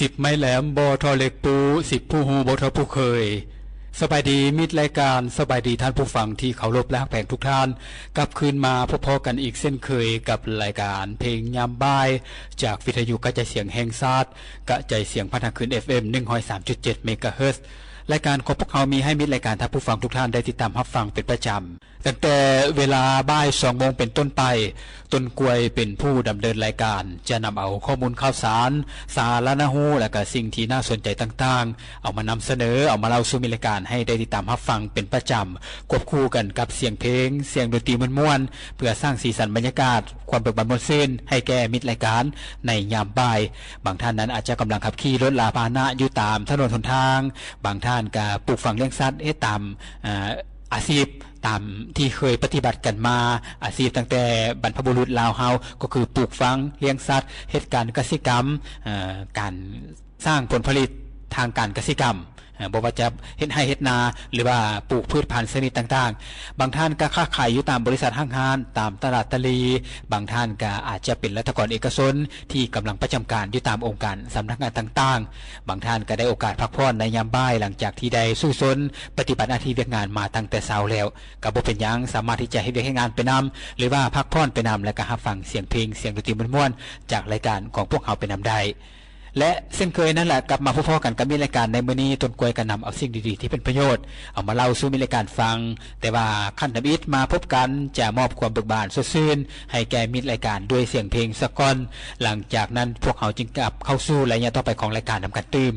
ສິບໄມ້ແຫຼມ ບໍ່ທໍ່ເຫຼັກປູ, ສິບຜູ້ຮູ້ ບໍ່ທໍ່ຜູ້ເຄີຍ. ສະບາຍດີມິດລາຍການ, ສະບາຍດີທ່ານຜູ້ຟັງທີ່ເຄົາລົບ ແລະ ຮັກແພງທຸກທ່ານ. ກັບຄືນມາພົບພໍ້ກັນອີກເຊັ່ນເຄີຍກັບລາຍການເພງຍາມບ່າຍ ຈາກວິທະຍຸກະຈາຍສຽງແຫ່ງຊາດ, ກະຈາຍສຽງຜ່ານທາງຄື້ນ ເອັຟເອັມ ໜຶ່ງຮ້ອຍສາມຈຸດເຈັດ ເມກາເຮີດ. ລາຍການຂອງພວກເຮົາມີໃຫ້ມິດລາຍການທ່ານຜູ້ຟັງທຸກທ່ານໄດ້ຕິດຕາມຮັບຟັງເປັນປະຈຳ. ຕັ້ງແຕ່ເວລາບ່າຍສອງໂມງເປັນຕົ້ນໄປ, ຕົ້ນກ້ວຍເປັນຜູ້ດຳເນີນລາຍການ ຈະນຳເອົາຂໍ້ມູນຂ່າວສານ, ສາລະນະຮູ້ ແລະ ກະສິ່ງທີ່ໜ້າສົນໃຈຕ່າງໆ ເອົາມານຳສະເໜີ, ເອົາມາເລົ່າສູ່ມິດລາຍການໃຫ້ໄດ້ຕິດຕາມຮັບຟັງເປັນປະຈຳ, ຄວບຄູ່ກັນກັບສຽງເພງ, ສຽງດົນຕີມ່ວນໆ ເພື່ອສ້າງສີສັນບັນຍາກາດຄວາມເບີກບານມ່ວນຊື່ນໃຫ້ແກ່ມິດລາຍການໃນຍາມບ່າຍ. ບາງທ່ານນັ້ນອາດຈະກຳລັງຂັບຂີ່ລົດລາພາຫະນະຢູ່ຕາມຖະໜົນຫົນທາງ, ບາງທ່ານກະປູກຝັງລ້ຽງສັດ, ເຮັດຕາມ ອາ ອາຊີບຕາມທີ່ເຄີຍປະຕິບັດກັນມາ, ອາຊີບຕັ້ງແຕ່ບັນພະບຸລຸດລາວເຮົາ ກໍຄືປູກຝັງ, ລ້ຽງສັດ, ເຮັດການກະສິກຳ, ເອີ ການສ້າງຜົນຜະລິດທາງການກະສິກຳ, ເອີ ບໍ່ວ່າຈະເຮັດໄຮ່ເຮັດນາ ຫຼືວ່າປູກພືດພັນຊະນິດຕ່າງໆ. ບາງທ່ານກໍຄ້າຂາຍຢູ່ຕາມບໍລິສັດຫ້າງຮ້ານ, ຕາມຕະຫຼາດຕະຫຼີ່, ບາງທ່ານກໍອາດຈະເປັນລັດຖະກອນເອກະຊົນທີ່ກຳລັງປະຈຳການຢູ່ຕາມອົງການສຳນັກງານຕ່າງໆ. ບາງທ່ານກໍໄດ້ໂອກາດພັກຜ່ອນໃນຍາມບ່າຍ ຫຼັງຈາກທີ່ໄດ້ສູ້ຊົນປະຕິບັດໜ້າທີ່ວຽກງານມາຕັ້ງແຕ່ເຊົ້າແລ້ວ ກໍບໍ່ເປັນຫຍັງ, ສາມາດທີ່ຈະເຮັດວຽກເຮັດງານໄປນຳ ຫຼືວ່າພັກຜ່ອນໄປນຳ ແລະ ກໍຮັບຟັງສຽງເພງ, ສຽງດົນຕີມ່ວນໆ ຈາກລາຍການຂອງພວກເຮົາໄປນຳໄດ້. ແລະ ເຊັ່ນເຄີຍນັ້ນແຫຼະ, ກັບມາພົບພໍ້ກັນກັບມິດລາຍການໃນມື້ນີ້, ຕົ້ນກ້ວຍກໍນຳເອົາສິ່ງດີໆທີ່ເປັນປະໂຫຍດ ເອົາມາເລົ່າສູ່ມິດລາຍການຟັງ, ແຕ່ວ່າຄັນທຳອິດມາພົບກັນ ຈະມອບຄວາມເບີກບານສົດຊື່ນໃຫ້ແກ່ມິດລາຍການດ້ວຍສຽງເພງສາກົນ. ຫຼັງຈາກນັ້ນ, ພວກເຮົາຈຶ່ງກັບເຂົ້າສູ່ໄລຍະຕໍ່ໄປຂອງລາຍການນຳກັນຕື່ມ.